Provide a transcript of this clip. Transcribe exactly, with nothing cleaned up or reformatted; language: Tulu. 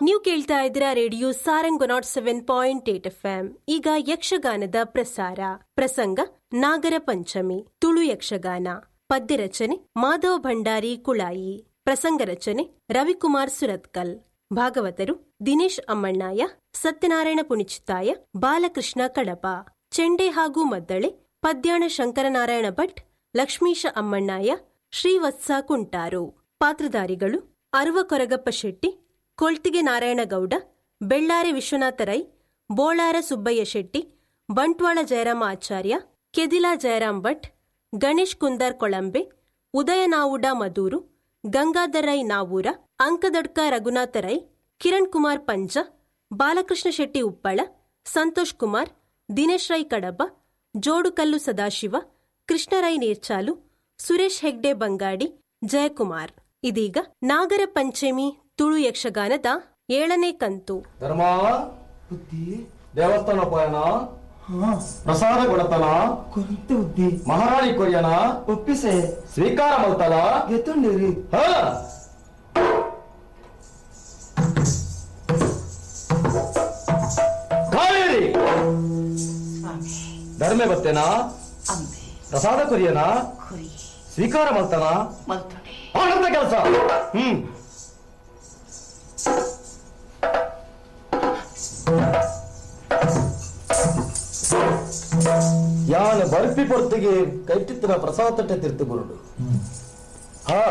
ನೀವು ಕೇಳ್ತಾ ಇದ್ದೀರಾ radio Sarang nought seven point eight F M. ಈಗ ಯಕ್ಷಗಾನದ ಪ್ರಸಾರ. ಪ್ರಸಂಗ ನಾಗರ ಪಂಚಮಿ, ತುಳು ಯಕ್ಷಗಾನ. ಪದ್ಯ ರಚನೆ ಮಾಧವ ಭಂಡಾರಿ ಕುಳಾಯಿ, ಪ್ರಸಂಗ ರಚನೆ ರವಿಕುಮಾರ್ ಸುರತ್ಕಲ್. ಭಾಗವತರು ದಿನೇಶ್ ಅಮ್ಮಣ್ಣಾಯ, ಸತ್ಯನಾರಾಯಣ ಪುಣಿಚಿತ್ತಾಯ, ಬಾಲಕೃಷ್ಣ ಕಡಪ. ಚೆಂಡೆ ಹಾಗೂ ಮದ್ದಳೆ ಪದ್ಯಾಣ ಶಂಕರನಾರಾಯಣ ಭಟ್, ಲಕ್ಷ್ಮೀಶ ಅಮ್ಮಣ್ಣಾಯ, ಶ್ರೀವತ್ಸ ಕುಂಟಾರು. ಪಾತ್ರಧಾರಿಗಳು ಅರುವ ಕೊರಗಪ್ಪ ಶೆಟ್ಟಿ, ಕೊಳ್ತಿಗೆ ನಾರಾಯಣಗೌಡ, ಬೆಳ್ಳಾರೆ ವಿಶ್ವನಾಥ ರೈ, ಬೋಳಾರ ಸುಬ್ಬಯ್ಯ ಶೆಟ್ಟಿ, ಬಂಟ್ವಾಳ ಜಯರಾಮ ಆಚಾರ್ಯ, ಕೆದಿಲಾ ಜಯರಾಮ್ ಭಟ್, ಗಣೇಶ್ ಕುಂದಾರ್ ಕೊಳಂಬೆ, ಉದಯನಾವುಡ ಮದೂರು, ಗಂಗಾಧರ್ ರೈ ನಾವೂರ, ಅಂಕದಡ್ಕ ರಘುನಾಥ ರೈ, ಕಿರಣ್ ಕುಮಾರ್ ಪಂಜ, ಬಾಲಕೃಷ್ಣ ಶೆಟ್ಟಿ ಉಪ್ಪಳ, ಸಂತೋಷ್ ಕುಮಾರ್, ದಿನೇಶ್ ರೈ ಕಡಬ, ಜೋಡುಕಲ್ಲು ಸದಾಶಿವ, ಕೃಷ್ಣರೈ ನೀರ್ಚಾಲು, ಸುರೇಶ್ ಹೆಗ್ಡೆ ಬಂಗಾಡಿ, ಜಯಕುಮಾರ್. ಇದೀಗ ನಾಗರ ಪಂಚಮಿ ತುಳು ಯಕ್ಷಗಾನದ ಏಳನೇ ಕಂತು. ಧರ್ಮ ದೇವಸ್ಥಾನ ಪಯಣ, ಪ್ರಸಾದ ಕೊಡತನ, ಮಹಾರಾಣಿ ಕೊರಿಯನ ಒಪ್ಪಿಸೆ ಸ್ವೀಕಾರ ಮಲ್ತಲ ಗೆತ್ತುಂಡಿರಿ. ಕಾವೇರಿ ಧರ್ಮೆ ಬತ್ತೇನಾ, ಪ್ರಸಾದ ಕೊರಿಯನ ಸ್ವೀಕಾರ ಮಲ್ತನ, ಆನಂದ ಕೆಲಸ. ಹ್ಮ್ ಯಾನ ಬರ್ಪಿ ಪೊರ್ತಿಗೆ ಕೈಟಿತ್ತಿನ ಪ್ರಸಾದ ತಟ್ಟೆ ತಿರ್ತು ಬರುಡು. ಹಾ.